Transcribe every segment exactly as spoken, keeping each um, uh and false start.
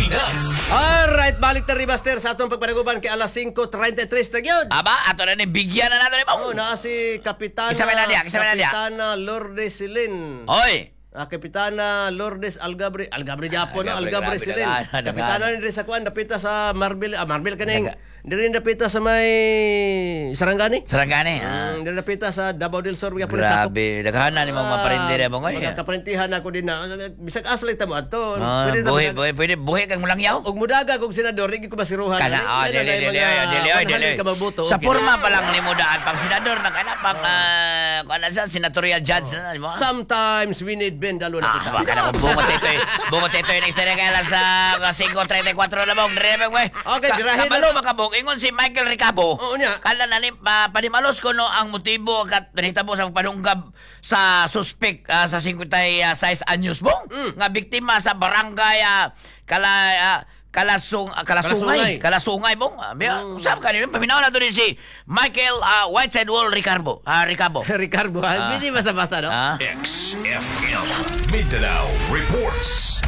Pilipinas. Alright, balik ta Ribaster sa atong pagpanaguban kay alas singko trentay tres na gyud. Aba, ato na ni bigyan na nato ni Oh, naa si Kapitana Isa may na diya, isa may na diya. Kapitana Lourdes Silin. Oy. Ah, Kapitana Lourdes Algabri, Algabri Japon, no? Algabri, Algabri grabe, Silin. daghan, daghan. Kapitana ni diri sa kuan, dapita sa Marbil, ah, Marbil kaning diri dapita sa may Sarangani. Sarangani. Ah. Mm, diri dapita sa Davao del Sur gyapon sakop. Grabe, daghan na ni mga maparindi mo ngoy. Mga kaparintihan ako din na bisag asa lang ta mo adto. Ah, Pwede na buhi, mag- buhi, pwede buhi kang mulangyaw. Og mudaga kog senador, di ko masiruhan. Kana, ah, Ano dili, na yung dili, mga dili, dili. one hundred ka mabuto, Sa okay porma na. pa lang ni mo daan pang senador na kana pang ah, kuan na sa senatorial judge na di mo. Sometimes we need bendalo na Ah, kita. baka na kung bungot sa ito eh. Bungot sa ito eh. Next na kaya lang sa singko trentay kwatro na bong. Dire bong, eh. Okay, dirahin na Kabalo to. makabong. Ingon si Michael Ricabo. Oo niya. Kala na ni pa, panimalos ko no ang motibo kat nahitabo sa pagpanunggab sa suspect ah, sa singkwentay sais anyos bong Mm. nga biktima sa barangay ah, kala ah, Kalasung, ah, Kalasungay. Kalasungay. Kalasungay bong. Ah, mm. Usap kanino paminaw na to din si Michael ah, Whiteside Wall Ricardo. Ah, Ricabo. Ricardo, ah. Hindi basta-basta, no? Ah. X F M Mindanao reports.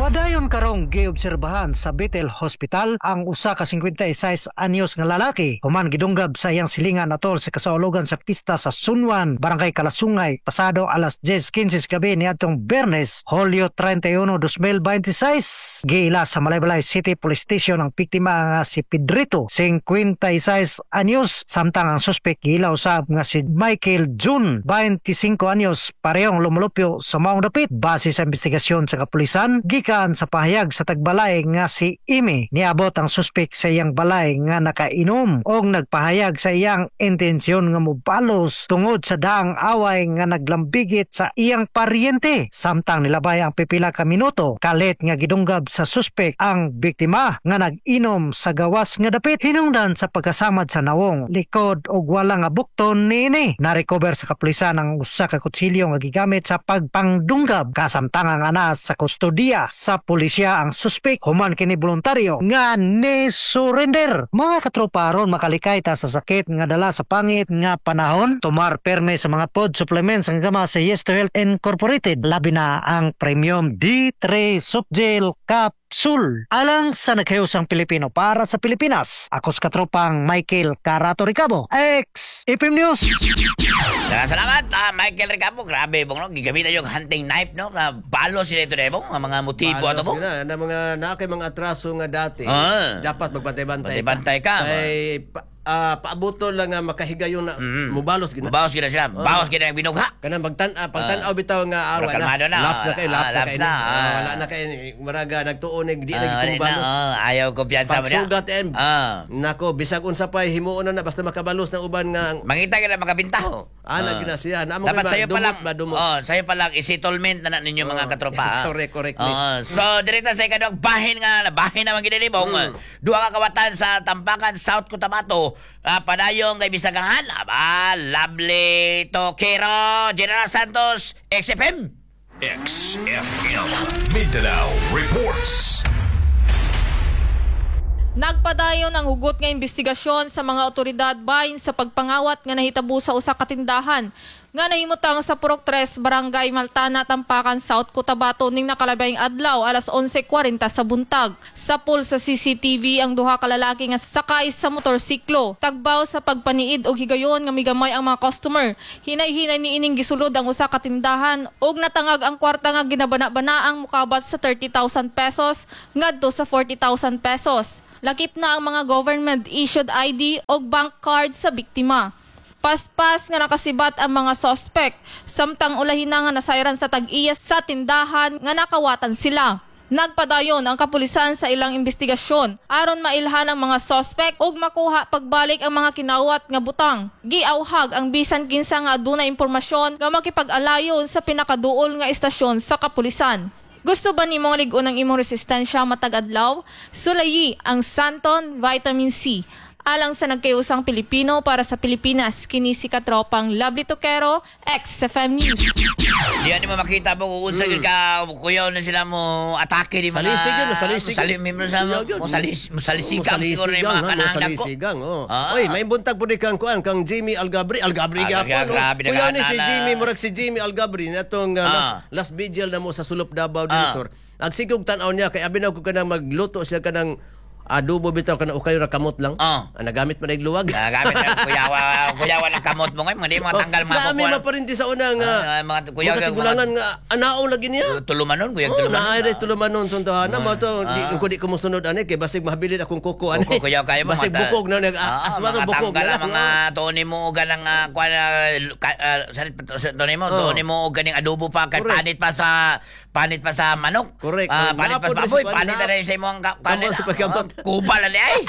Padayon karong giobserbahan sa Bethel Hospital ang usa ka singkwentay sais anyos nga lalaki human gidunggab sa iyang silingan atol sa kasaulogan sa pista sa Sunwan, Barangay Kalasungay, pasado alas diyes kintse sa gabi niadtong Biyernes, Hulyo trentay uno, dos mil beinte sais. Giila sa Malaybalay City Police Station ang biktima nga si Pedrito, singkwentay sais anyos, samtang ang suspek giila usab nga si Michael June, beinte singko anyos, parehong lumulupyo sa maong dapit. Base sa investigasyon sa kapulisan, gikan sa pahayag sa tagbalay nga si Imi, niabot ang suspek sa iyang balay nga nakainom og nagpahayag sa iyang intensyon nga mobalos tungod sa daang away nga naglambigit sa iyang paryente. Samtang nilabay ang pipila ka minuto, kalit nga gidunggab sa suspek ang biktima nga nag-inom sa gawas nga dapit hinungdan sa pagkasamad sa nawong, likod og wala nga bukton niini. Na-recover sa kapulisan ang usa ka kutsilyo nga gigamit sa pagpangdunggab, kasamtangang ana sa kustodiya sa pulisya ang suspek human kini voluntaryo nga ni surrender. Mga katropa, aron makalikay ta sa sakit nga dala sa pangit nga panahon, tumar perme sa mga food supplements ang gama sa Yes to Health Incorporated, labi na ang Premium D three Softgel Capsule. Alang sa nagkayusang Pilipino para sa Pilipinas, ako sa katropang Michael Carato Ricabo, X F M News. Daghang salamat, ah, Michael Ricabo. Grabe, bong, no? Gigamitan yung hunting knife, no? Na balo sila ito, bong. Ang mga motibo ato, Balos bong. na, na mga naa kay mga atraso nga dati. Ah. Dapat magbantay-bantay. Bantay-bantay ka. Kay pa, ah, paabuto lang nga makahigayon na mubalos gina. Bawas gina sila. Bawas gina ang binugha. Kanang pagtan ah, pagtan-aw bitaw nga awa Mura kalmado na. Laps na kay, Ah, laps na laps kay. na, Ah, ah. wala na kay maraga nagtuon di na Ah, gid wala na, balos. oh, ayaw kumpiyansa mo niya. Pagsugat em. Ah. Nako, bisag unsa pa himuon na na basta makabalos ng uban nga Mangita ka na makabinta. Oh, ana Ah. gina siya. Naamo Dapat kay sa'yo pa dumot lang, ba, dumot. oh, sa'yo pa lang, i-settlement na na ninyo mga Oh, katropa. ah. correct, correct, miss. Oh, so, direkta sa ikadong bahin nga, bahin naman ginilibong. Mm. Duha ka kawatan sa Tampakan, South Cotabato. Ah, padayong kay Bisagahan. Aba, lovely Tokero, General Santos, X F M. X F M Mindanao reports. Nagpadayon ang hugot nga investigasyon sa mga otoridad bahin sa pagpangawat nga nahitabo sa usa ka tindahan nga nahimutang sa Purok tres, Barangay Maltana, Tampakan, South Cotabato ning nakalabayng adlaw alas onse kwarenta sa buntag. Sapul sa C C T V ang duha ka lalaki nga sakay sa motorsiklo. Tagbaw sa pagpaniid og higayon nga migamay ang mga customer. Hinay-hinay niining gisulod ang usa ka tindahan ug natangag ang kwarta nga ginabana-bana ang mukabat sa thirty thousand pesos ngadto sa forty thousand pesos. Lakip na ang mga government-issued I D o bank card sa biktima. Paspas nga nakasibat ang mga sospek, samtang ulahin na nga nasayran sa tag-iya sa tindahan nga nakawatan sila. Nagpadayon ang kapulisan sa ilang investigasyon aron mailhan ang mga sospek ug makuha pagbalik ang mga kinawat nga butang. Giawhag ang bisan kinsa nga adunay impormasyon nga makipag-alayon sa pinakaduol nga istasyon sa kapulisan. Gusto ba nimong lig-on ang imong resistensya matag adlaw? Sulayi ang Santon Vitamin C. Alang sa nagkayusang Pilipino para sa Pilipinas, kini si katropang Lovely Toquero, X F M News. Di ani mo makita mo kung unsa gyud ka kuyaw na sila mo atake ni mga Salisig yun, salisig. Sali mo sa Kuyaw yun. mo salis mo salisigang siguro ni mga ha, kanang dagko. Mosalisigang, oh. Ah. Oy, may buntag po di kang kuan kang Jimmy Algabri, Algabri Ah, gyapon. Oh. grabe, Kuyaw ni si nagana. Jimmy, murag si Jimmy Algabri natong uh, Ah. last, last vigil na mo sa Sulop Davao del Ah. Sur. Agsigog tan-aw niya kay abi na ko kanang magluto siya kanang adobo bitaw kanang ukay ra kamot lang. Oh. Ah, nagamit man og luwag. Ah, gamit na kuyawa, kuyawa ng kamot mo ngayon, mga di mo matanggal mga Naami kukuha. ma pa rin di sa una nga. Ah, mga kuyaw- mga tigulangan nga anao lagi niya. Tulumanon, kuyang Oh, tulumanon. naay rin tulumanon tuntuhan na mo to di ko di ko mosunod ani kay basig mahabilin akong kuko ani. Kuko kuyaw kayo mo. Basig mata- bukog na nag Ah, aswa to mga bukog tanggal na ang lang. mga tuni mo og ganang ah, kuan ah, ka- ah, sarit tuni mo, Oh. tuni mo og ganing adobo pa kay Correct. panit pa sa panit pa sa manok. Correct. Ah, Oh, panit pa sa naapod rin baboy, sa panit na panit. rin sa imong ka- Kamot kanin. sa pagkamot. Ah, Kuba na ni ay.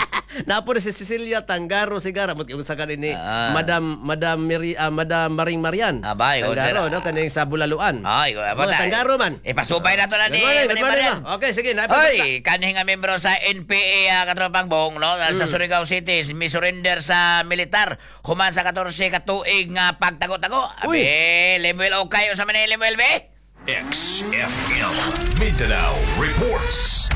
Napo si Cecilia Tangaro Sigara mo unsa ka ni Ah. Madam Madam Mary ah, Madam Maring Marian. Abay, oh, Tangaro sir. no kaning sa Bulaluan. Ay, Mga Tangaro man. Ipasubay na to na ni Good morning, good Maring morning, Marian. ma. Okay, sige, na Hoy, kanhi nga membro sa N P A, uh, katropang Bong, no, Mm. sa Surigao City, mi surrender sa militar human sa katorse ka tuig nga pagtago-tago. Uy. Abi, Lemuel okay sa man Lemuel be? X F M Mindanao reports.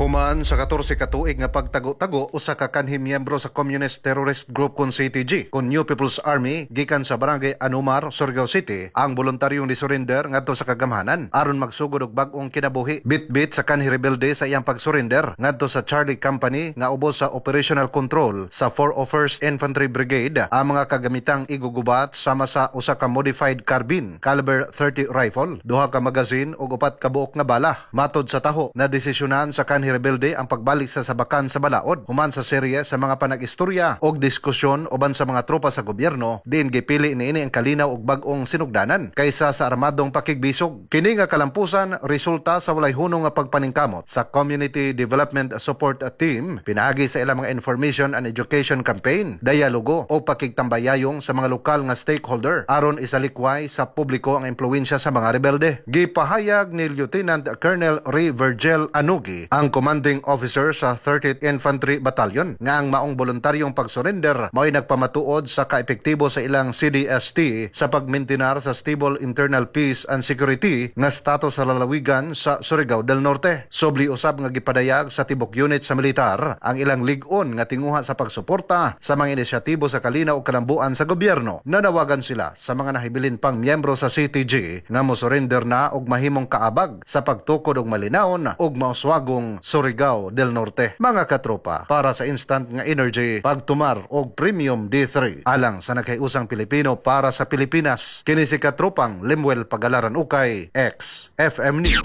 Human sa katorse ka tuig nga pagtago-tago, usa ka kanhi miyembro sa Communist Terrorist Group kon C T G kon New People's Army gikan sa Barangay Anumar, Surigao City, ang voluntaryong ni-surrender ngadto sa kagamhanan aron magsugod og bag-ong kinabuhi. Bit-bit sa kanhi rebelde sa iyang pagsurrender ngadto sa Charlie Company nga ubos sa operational control sa four oh first Infantry Brigade ang mga kagamitang igugubat sama sa usa ka modified carbine caliber thirty rifle, duha ka magazine ug upat ka buok nga bala. Matod sa taho, na desisyonan sa kanhi rebelde ang pagbalik sa sabakan sa balaod human sa serye sa mga panag-istorya og diskusyon uban sa mga tropa sa gobyerno, diin gipili niini ang kalinaw og bag-ong sinugdanan kaysa sa armadong pakigbisog. Kini nga kalampusan resulta sa walay hunong nga pagpaningkamot sa Community Development Support Team pinaagi sa ilang mga information and education campaign, dialogo o pakigtambayayong sa mga lokal nga stakeholder aron isalikway sa publiko ang impluwensya sa mga rebelde. Gipahayag ni Lieutenant Colonel Ray Virgil Anugi, ang commanding officer sa thirtieth Infantry Battalion, nga ang maong voluntaryong pagsurrender mao'y nagpamatuod sa kaepektibo sa ilang C D S T sa pagmintinar sa stable internal peace and security nga status sa lalawigan sa Surigao del Norte. Sobli usab nga gipadayag sa tibok unit sa militar ang ilang lig-on nga tinguha sa pagsuporta sa mga inisyatibo sa kalinaw ug kalambuan sa gobyerno. Nanawagan sila sa mga nahibilin pang miyembro sa C T G nga mosurrender na og mahimong kaabag sa pagtukod og malinawon ug mauswagong Surigao del Norte. Mga katropa, para sa instant nga energy, pagtumar og Premium D three alang sa nagkaiusang Pilipino para sa Pilipinas. Kini si katropang Lemuel Pagalaran Ukay, X F M News.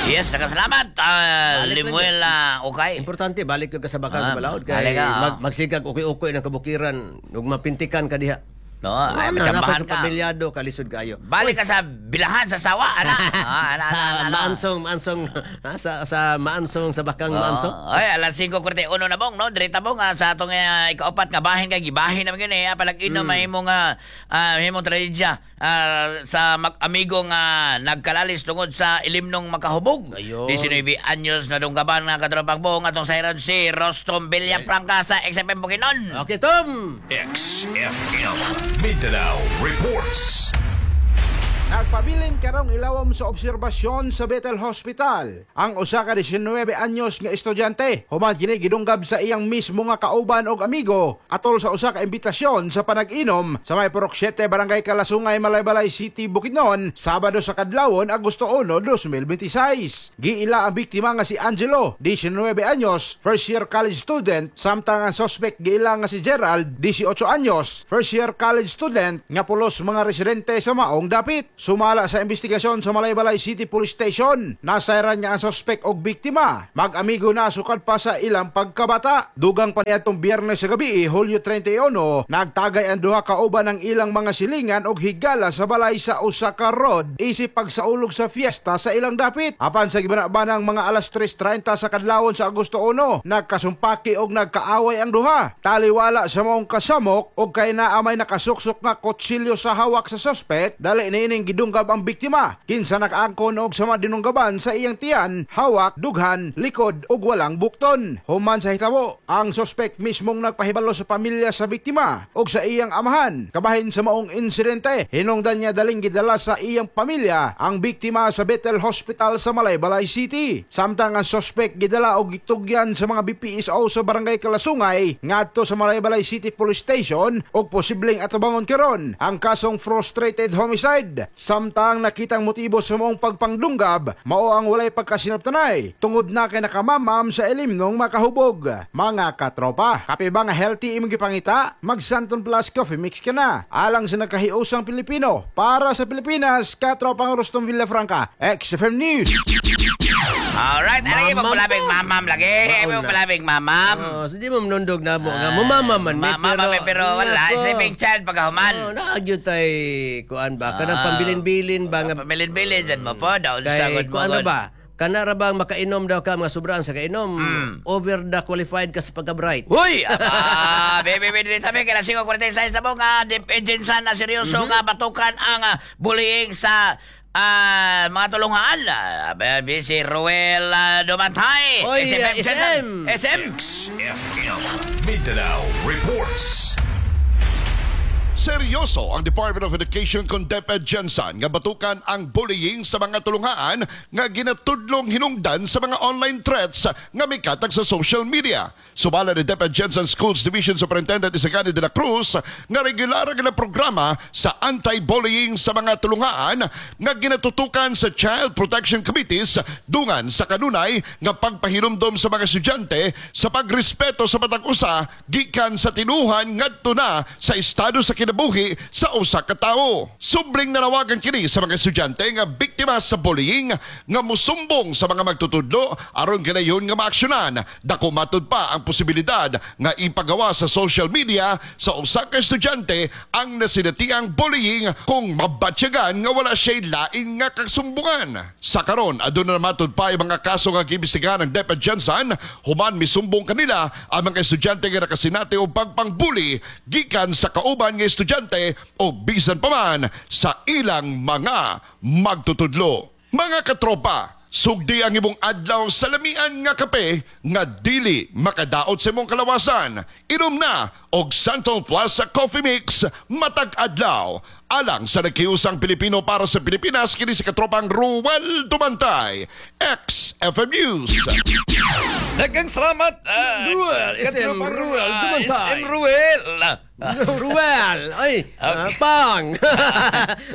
Yes, nakasalamat. Uh, Balik Lemuel ah, okay. Importante balik ka sa bakan Ah, sa balaod kay balik ka, ah. mag, magsigag ukoy-ukoy ng kabukiran ug mapintikan ka diha. No, ay Ano, matsambahan napaka ka. pamilyado kalisod kayo. Balik ka sa bilahan sa sawa, ana. Ah, ana, ana, ana, ana. Maansong, maansong ah, sa sa maansong sa bakang maansong. Oh, ay, alas singko kwarenta y uno na bong, no? Direta bong ah, sa atong uh, ikaupat nga bahin kay gibahin naman yun eh. Ah, palag-inom mm. mahimong uh, uh, mahimong trahedya ah, sa mag-amigo nga nagkalalis tungod sa ilimnong makahubog. Ayun. nisinuybe anyos na dunggaban nga katropang bong atong sayran si Rostom Villafranca sa X F M Bukidnon. Okay, Tom. X F M Mindanao reports. Nagpabilin karong ilawom sa obserbasyon sa Bethel Hospital ang usa ka disinuybe anyos nga estudyante human kini gidunggab sa iyang mismo nga kauban og amigo atol sa usa ka imbitasyon sa panag-inom sa may Purok siyete, Barangay Kalasungay, Malaybalay City, Bukidnon, Sabado sa kadlawon, Agosto uno, dos mil bentisiis. Giila ang biktima nga si Angelo, disinuybe anyos, first year college student, samtang ang suspect giila nga si Gerald, disiotso anyos, first year college student nga pulos mga residente sa maong dapit. Sumala sa investigasyon sa Malaybalay City Police Station, nasayran niya ang suspect og biktima mag-amigo na sukad pa sa ilang pagkabata. Dugang pa niadtong Biyernes sa gabi, Hulyo trenta y uno, nagtagay ang duha kauban ng ilang mga silingan og higala sa balay sa usa ka road isip pagsaulog sa fiesta sa ilang dapit. Apan sa gibana-banang mga alas tres trenta sa kadlawon sa Agosto uno, nagkasumpaki og nagkaaway ang duha. Taliwala sa maong kasamok og kay naa may nakasuksok nga kutsilyo sa hawak sa suspect, dali niining gidunggab ang biktima. Kinsa nakaangkon og sama dinunggaban sa iyang tiyan, hawak, dughan, likod ug walang bukton. Human sa hitabo, ang suspect mismong nagpahibalo sa pamilya sa biktima ug sa iyang amahan. Kabahin sa maong insidente, hinungdan niya daling gidala sa iyang pamilya ang biktima sa Bethel Hospital sa Malaybalay City. Samtang ang suspect gidala og gitugyan sa mga B P S O sa Barangay Kalasungay ngadto sa Malaybalay City Police Station og posibleng atubangon karon ang kasong frustrated homicide. Samtang nakitang motibo sa maong pagpangdunggab, mao ang walay pagkasinabtanay tungod na kay nakamamam sa ilimnong makahubog. Mga katropa, kape ba nga healthy imong gipangita? Mag Santon Plus Coffee Mix ka na. Alang sa nagkahiusang Pilipino, para sa Pilipinas, katropang Rustom Villafranca, X F M News. Alright, alagi mo Mamam palabing po. mamam lagi. Mauna. Mo palabing mamam. Oh, so di mo manundog na mo nga mumama man mi Mama pero, pero wala, nako. sleeping child pagkahuman. Oh, naagyo tay kuan ba kanang Ah. pambilin-bilin ba nga Pamilin-bilin dyan mo po, daon kay sagod mo. kuan na gud. ba? Kana ra bang makainom daw ka mga sobrang sa kainom, Mm. over the qualified ka sa pagka-bright. Uy! Aba, baby, baby, dito sabi, kailan singko forty-six na po nga, Jensan na seryoso Mhm. nga batukan ang ah, bullying sa ah, mga tulungan. Ah, baby, si Ruel ah, Dumantay. Oy, S M, ah, S M. S M. X F M Mindanao Reports. Seryoso ang Department of Education kon DepEd Jensan nga batukan ang bullying sa mga tulungaan nga ginatudlong hinungdan sa mga online threats nga mikatag sa social media. Sumala ni DepEd Jensan Schools Division Superintendent Isagani de la Cruz nga regular ang programa sa anti-bullying sa mga tulungaan nga ginatutukan sa Child Protection Committees dungan sa kanunay nga pagpahinumdom sa mga estudyante sa pagrespeto sa matag usa gikan sa tinuhan ngadto na sa estado sa kinabuhi sa usa ka tawo. Subling nanawagan kini sa mga estudyante nga biktima sa bullying nga musumbong sa mga magtutudlo aron ganayon nga maaksyonan. Dako matud pa ang posibilidad nga ipagawa sa social media sa usa ka estudyante ang nasinatiang bullying kung mabatyagan nga wala siya'y laing nga kasumbungan. Sa karon aduna na matud pa ang mga kaso nga giimbestigahan ng DepEd Jensan human misumbong kanila ang mga estudyante nga nakasinati og pagpangbuli gikan sa kauban nga estudyante o bisan pa man sa ilang mga magtutudlo. Mga katropa, sugdi ang imong adlaw sa lamian nga kape nga dili makadaot sa imong kalawasan. Inom na og Santon Plus sa Coffee Mix matag adlaw. Alang sa nagkiusang Pilipino para sa Pilipinas, kini si katropang Ruel Dumantay, X F M News. Daghang salamat, ah, Ruel, S M katropang Ruel ah, Dumantay. S M Ruel. Ruel! Ay, Okay. ah, pang!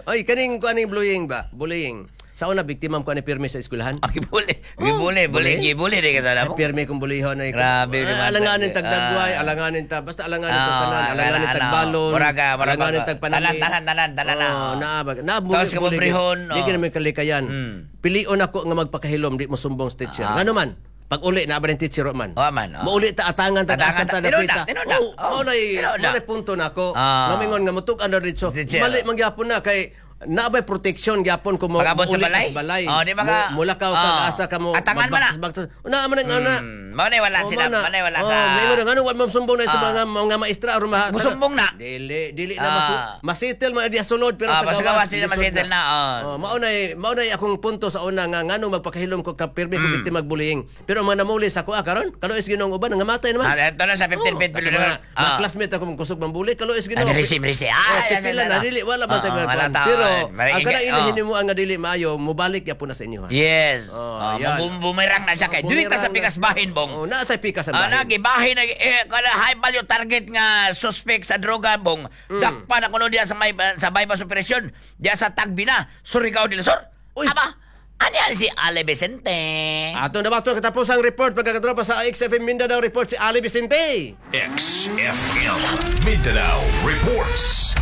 Ay, kaning kuaning bullying ba? Bullying. Sa una, biktima ko ni pirmi sa eskwelahan. Ah, gibuli. Gibuli, buli, gibuli di ka sana Ay, mo. pirmi kong bulihon ay. Grabe, Ay, naman. alanganin tag dagway, Ah. alanganin ta, basta alanganin tag Ah, tanan, alanganin tag balon, Muraga, muraga. alanganin tag panamit. Tanan, tanan, tanan, tanan na. Oh, naa ba? Na Tapos ka mabrihon, Di oh. ka naman kalikayan. Mm. Pilion ako nga magpakahilom, di mo sumbong sa teacher. Ah. Ngano man? Pag uli na ba rin teacher man? Oh, man, oh. Mauli ta atangan ta Atangan asa ta ta- tinuod dapita. na, tinuod na. Oh, Oh, mao nay tinuod na. mao nay punto nako. Ah. Ngamingon nga mutug-an na dito. Teacher. Mali man gyapon na kay naabay protection gyapon kung mo Pag-abot sa muuli ka balay? sa balay. Oh, di ba ka- Mo- Mulakaw ka Oh. asa ka mo. Atangan mo na. magbaktas- Una man ang ana. Mm, mao na wala Oh, sila, mao na. mao na wala Oh, sa May nga ano wa masumbong na sa Ah. mga mga maestra aron ma Musumbong na. Dili dili na Ah. masu masitel man di sulod pero Ah, sa basta gawas gawas sila lisod masitel na, oh. Oh, mao nay mao nay akong punto sa una nga ngano magpakahilom ko ka pirmi Mm. ko biktima magbullying. Pero ang mga namuli sa ako ah, karon kaluoy Ginoo ang uban nga matay naman. Ah, ito na sa fifteen Oh, feet kato below. mga, mga Ah. classmate ako mong kusog mambuli kaluoy Ginoo. Ah, risi, risi. Ah, Oh, yes, yes, pipila yes, na ah. dili wala man Oo, tayo wala kuan. tao. Pero Maring ang kana ingay, ilahin oh. nimo ang nga dili maayo mobalik gyapon na sa inyo. ha. Yes. Oh, Oh, yan. bum- bumerang na siya kay. Dili ta sa Bumerang na pikas siya. bahin bong. Oh, naa sa pikas ang Ah, bahin. nagibahin na eh kana high value target nga suspect sa droga bong. Mm. Dakpa na kuno diya sa may sa bypass operation diya sa Tagbina, Surigao del Sur. Uy. Aba, ani ani si Ale Vicente. Ato na ba ito katapos ang report pagkakatropa sa X F M Mindanao Report si Ali Vicente. X F M Mindanao Reports.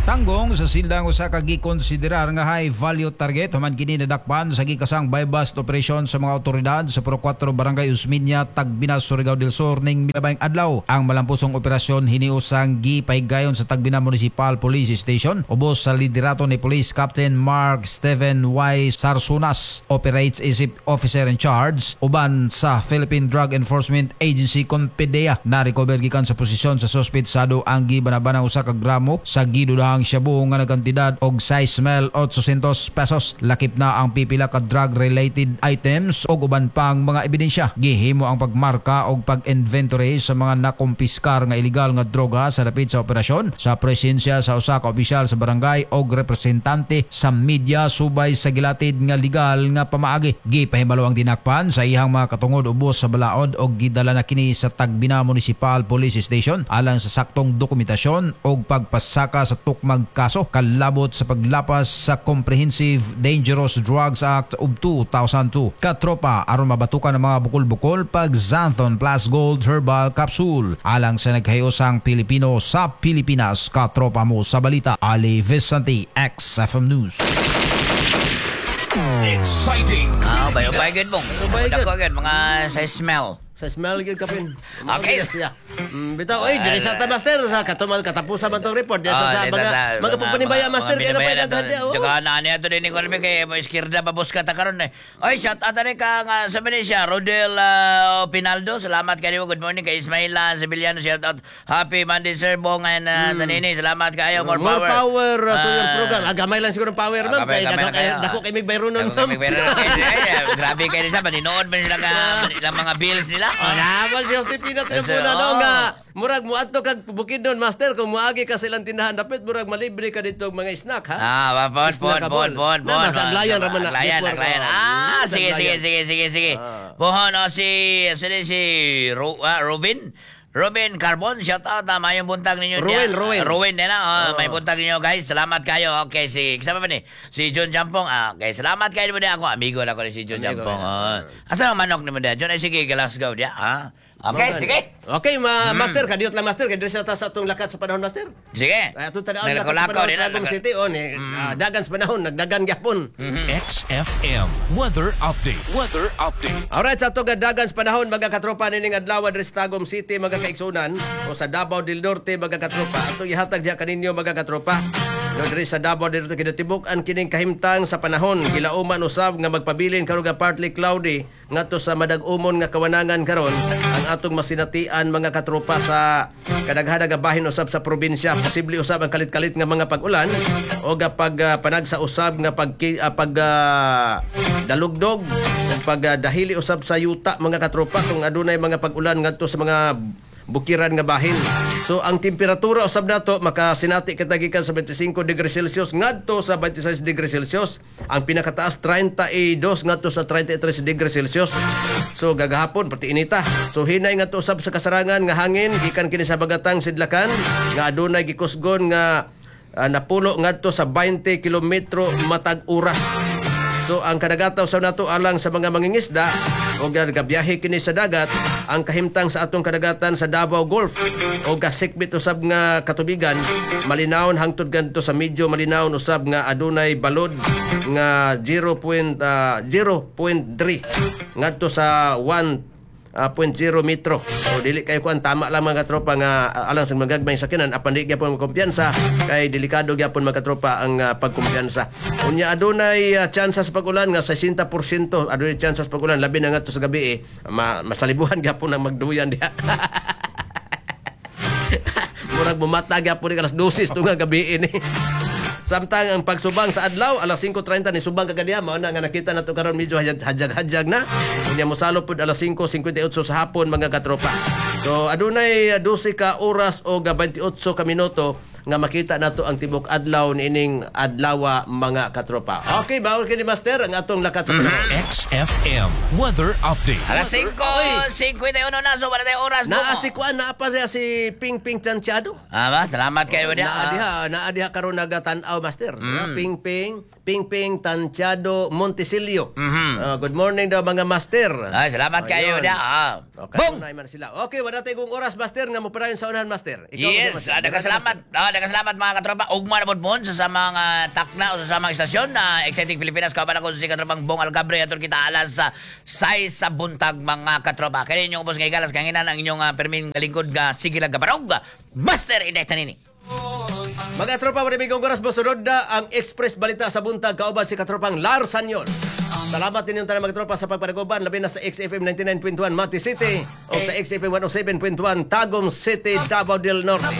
Tanggong sa silang usa ka gikonsiderar nga high value target human kini nadakpan sa gikasang buy-bust operation sa mga otoridad sa Puro kwatro Barangay Usminya, Tagbina, Surigao del Sur ning milabayng adlaw. Ang malampusong operasyon hiniusang gipahigayon sa Tagbina Municipal Police Station ubos sa liderato ni Police Captain Mark Steven Y. Sarsunas, operates isip officer in charge uban sa Philippine Drug Enforcement Agency Conpedea. Na-recover gikan sa posisyon sa suspetsado ang gibanabanang usa ka gramo sa gidudahang shabu nga nagkantidad og size mil eight hundred pesos. Lakip na ang pipila ka drug-related items og uban pang mga ebidensya. Gihimo ang pagmarka og pag-inventory sa mga nakumpiskar nga illegal nga droga sa dapit sa operasyon sa presensya sa usa ka opisyal sa barangay og representante sa media subay sa gilatid nga legal nga pamaagi. Gipahibalo ang dinakpan sa iyang mga katungod ubos sa balaod og gidala na kini sa Tagbina Municipal Police Station alang sa saktong dokumentasyon og pagpasaka sa tukmang hukmag kaso kalabot sa paglapas sa Comprehensive Dangerous Drugs Act of two thousand two. Katropa, aron mabatukan ang mga bukol-bukol, pag Xanthone Plus Gold Herbal Capsule. Alang sa nagkahiyosang Pilipino sa Pilipinas, katropa mo sa balita, Ali Vicente, X F M News. Exciting. Ah, bayo bay gud, Bong. Ubay gud. Dako gud mga sa smell. Sa smell gyud kapin. Okay. Siya. Mm, bitaw oy, diri sa ta, master, sa katumal katapusan man tong report diya sa, Ah, sa dito mga sa- mga pagpanibaya, master, kay na pa daghan diya. Oh. Tsaka na niya to din ko kay mo iskirda babuska ta karon eh. Oy, shout out ani ka nga sa ni siya Rodel uh, Pinaldo. Salamat kayo. Good morning kay Ismail uh, Sevillano. Shout out. Happy Monday, Sir Bong and uh, Tanini. Salamat kayo. More, More power. power uh, to your Ah, program. Ah, gamay lang siguro ang power, ma'am. Gamay, Kay gamay dako lang kay kayo. dako kay mig bayronon, Dako ma'am. kay mig-bayronon. Kay- ay, grabe kayo sa maninood man sila ka ilang mga bills nila. Oh, naman si Josepina Tribuna Oh. no nga murag muadto kag Bukidnon, master, kung muagi ka sa ilang tindahan dapit murag malibre ka dito og mga snack, ha. Ah, pon, pon, pon, pon, Na, pon. nasa Aglayan ra man na. Aglayan, Network, Aglayan. oh. Ah, Mm, sige, sige, Aglayan. sige, sige, sige. Ah. Pohon, oh, si, sino si Ro, ah, Robin? Robin Carbon, shout out na mayong buntag ninyo. Ruin, niya. Ruin. Ruin din na. Oh, Oh. may buntag ninyo, guys. Salamat kayo. Okay, si kasama pa ni si John Jampong. Ah, okay, salamat kayo mo ako. Amigo lang ko ni si John Amigo, Jampong. yeah. Oh. Asa ang manok ni mo diya? John ay sige Glasgow diya. Ah. Okay, Mga- sige. Okay, ma master, kadiyot lang, master, kay diri sa ta sa atong lakat sa panahon, master. Sige. Ay, atong tan-awon lakat sa Naglakolakaw panahon din sa na. Tagum City oh ni ah, dagan sa panahon, nagdagan gyapon. X F M Weather Update. Weather Update. Alright, sa atong dagan sa panahon, mga katropa, nining adlaw diri sa Tagum City, mga kaigsunan, o sa Davao del Norte, mga katropa. Atong ihatag diha kaninyo, mga katropa. No, diri sa Davao del Norte kinatibuk-an kining kahimtang sa panahon, gilauman usab nga magpabilin karon nga partly cloudy ngadto sa madag-umon nga kawanangan karon ang atong masinatian, mga katropa, sa kadaghanan nga bahin usab sa probinsya. Posible usab ang kalit-kalit nga mga pag-ulan o ga pag ah, panagsa usab nga pag ah, pag ah, dalugdog ug pag ah, dahili usab sa yuta, mga katropa, kung adunay mga pag-ulan ngadto sa mga bukiran nga bahin. So ang temperatura usab nato makasinati kita gikan sa twenty-five degrees Celsius ngadto sa twenty-six degrees Celsius. Ang pinakataas, thirty-two ngadto sa thirty-three degrees Celsius. So gagahapon pati inita. So hinay ngadto usab sa kasarangan nga hangin gikan kini sa bagatang sidlakan nga adunay gikusgon nga ah, napulo ngadto sa twenty kilometro matag oras. So ang kadagatan sa nato alang sa mga mangingisda o gabiyahe kini sa dagat, ang kahimtang sa atong kadagatan sa Davao Gulf o gasikbit usab nga katubigan, malinawon hangtod ganito sa medyo malinawon usab nga adunay balod nga zero point, ah, zero point three ngadto sa one ah, zero point zero metro. So dili kayo kuan, tama lang, mga katropa, nga ah, alang sa magagmay sakinan apan di gyapon kumpiyansa kay delikado gyapon, mga katropa, ang ah, pagkumpiyansa. Unya adunay uh, tsansa sa pag-ulan nga sixty percent, adunay tsansa sa pag-ulan labi na ngadto sa gabi eh, ma masalibuhan gyapon ang magduyan diha. Murag mumata gyapon ni alas dose tunga gabi ini. Samtang ang pagsubang sa adlaw alas singko trenta ni subang kagadiha, mao na nga nakita nato karon medyo hadyag-hadyag na. Unya mosalo pud alas singko singkwenta y otso sa hapon, mga katropa. So adunay uh, dose ka oras o twenty-eight ka minuto nga makita nato ang tibok adlaw niining adlawa, mga katropa. Okay, bawal kini, master, ang atong lakat sa panahon. X F M Weather Update. Alas singko singkwenta y uno na, so wala tayong oras. Naa si kuan, naa pa siya si Ping Ping Tantiado. Ah, ba? Salamat kayo niya. Naa diha, naa diha karon nagatan-aw, master. Mm. Ping Ping, Ping Ping Tantiado Montesilio. Mhm. Ah, good morning daw, mga master. Ay, salamat kayo Ayun. niya. Ah. Okay, Bong! man sila. Okay, wala tayong oras, master, nga mopadayon sa unahan, master. Ikaw, Yes, master. ah, nagkasalamat. Ah, nagkasalamat mga katropa. Ugma na pod sa sa mga takna o sa mga istasyon na Exciting Pilipinas. Kauban ako si katropang Bong Alcabre. Aton kita alas sa sais sa buntag, mga katropa. Kaya inyong ubos nga igalas kanginan ang inyong uh, perming lingkod nga sige lang gabarog. Master Inday Tanini. Mga tropa, maraming oras, mosunod na ang Express Balita sa buntag kauban si katropang Lars Sanyon. Salamat ninyong tanan, mga tropa, sa pagpanaguban, labi na sa X F M ninety-nine point one Mati City o sa X F M one oh seven point one Tagum City, Davao del Norte.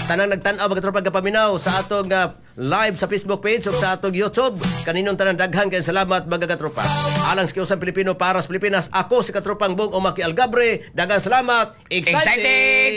Tanang nagtan-aw, mga tropa, gapaminaw sa atong ah, live sa Facebook page o sa atong YouTube. Kaninong tanan, daghan kayong salamat, mga katropa. Alang sa Kiusang Pilipino para sa Pilipinas, ako si katropang Bong Omaki Algabre. Daghang salamat. Exciting! Exciting!